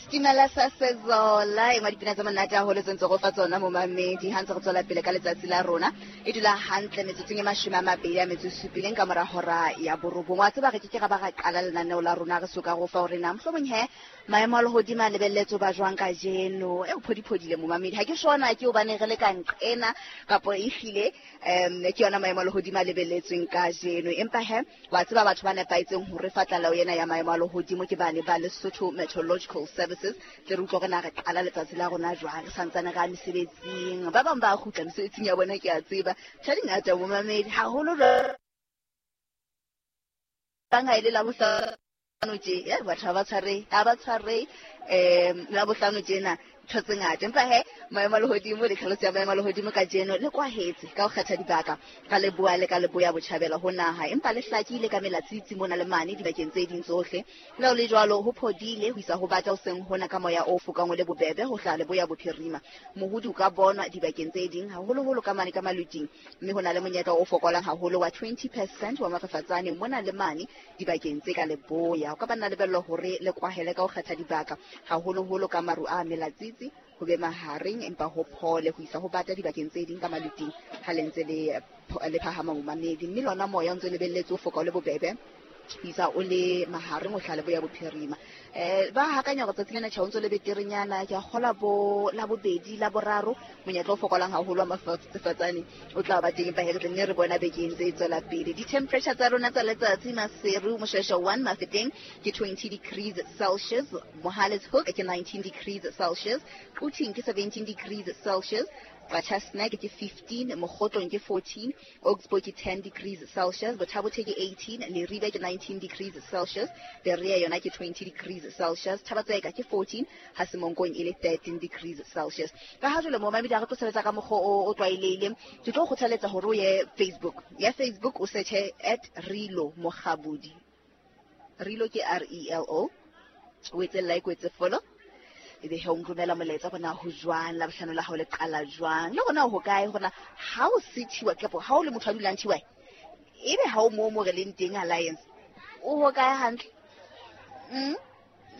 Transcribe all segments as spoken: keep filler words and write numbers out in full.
Stimela sa Sezola e ngwa dipina tsa monate haholo tse ntse go fa tsona momamedi ha ntse re tswela pele ka letsatsi la rona e dula hantle metsotsong e mashome a mabedi a metso e supileng ka mora hora ya borobong. Wa tseba re ke ke ra ba ra qala lenaneo la rona re soka go fa hore na mohlomong he maemo a lehodimo a lebelletswe ba jwang kajeno. E o phodiphodile momamedi, ha ke shona ke hobane re le ka nqena kapo ehlile um ke yona maemo a lehodimo a lebelletsweng kajeno. Empa he wa tseba batho ba nepahetseng hore fa tlaleho ena ya maemo a lehodimo ke bane ba Lesotho Meteorological Services. Tle re utlwe hore na re qala letsatsi la rona jwang, re santsane re ya mesebetsing. Ba bang ba kgutla mesebetsing ya bona, ke a tseba. Tjhe, di ngata momamedi, haholo jwang ha e le Labohlano tje, eh, batho ha ba tshwarehe, ha ba tshwarehe um Labohlano tjena ntho tse ngata. Empa he maemo a lehodimo le tlhaloso ya maemo a lehodimo kajeno le kwahetse ka ho kgetha dibaka ka leboya le ka leboya botjhabela ho naha, empa le hlakile ka melatsitsi mona le mane dibakeng tse ding tsohle. Le ho le jwalo ho phodile ho isa ho bata hoseng hona ka moya o fokang o le bobebe ho hlaha leboya bophirima. Mohodi o ka bonwa dibakeng tse ding haholoholo ka mane ka maluting, mme ho na le monyetla o fokolang haholo wa twenty percent wa mafafatsane mona le mane dibakeng tse ka leboya. O ka ba nna lebello hore le kwahele ka ho kgetha dibaka haholoholo ka maru a melatsitsi ho be mahareng, empa ho phole ho isa ho bata dibakeng tse ding ka maluting ha le ntse le le phahama momamedi. Mme lona moya o ntse o lebelletse o foka o le bobebe ho isa o le mahareng ho hlaha leboya bophirima. Eh, ba hakanya hore tsatsi lena tjhe o ntso le beterenyana, ke a kgola bo Labobedi, Laboraro, monyetla o fokolang haholo wa mafafatsane o tla ba teng. Empa he re tla nne re bona bekeng tse tswela pele. Di-temperature tsa rona tsa letsatsi Maseru, Moshweshwe one, Mafeteng ke twenty degrees Celsius, Mohale's Hoek ke nineteen degrees Celsius, Quthing ke seventeen degrees Celsius, Qacha's Nek ke fifteen, Mokgotlong ke fourteen, Augsburg ke ten degrees Celsius, Botha-Bothe ke eighteen, Leribe ke nineteen degrees Celsius, Berea yona ke twenty degrees Celsius, Thaba-Tseka ke fourteen, ha Semonkong e le thirteen degrees Celsius. Ka ha jwale momamedi ha re tlo sebetsa ka mokgwa o, o tlwaelehileng, ke tlo kgothaletsa hore o ye Facebook. Ya Facebook o search-e at Relo Mokgabudi. Relo ke R E L O. O etse like, o etse follow. Ebe he o nromela molaetsa hore na ho jwang, Labohlano la hao le qala jwang, le hore na ho kae, hore na ha o se T Y kapo ha o le motho a dulang T Y, ebe ha o moo mo re leng teng Alliance, o ho kae hantle? Mm?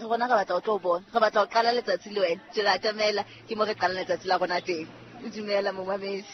Rona re batla ho tlo bona, re batla ho qala letsatsi le wena. Jwale atamela, ke mo re qalang letsatsi la rona teng. Dumela momamedi.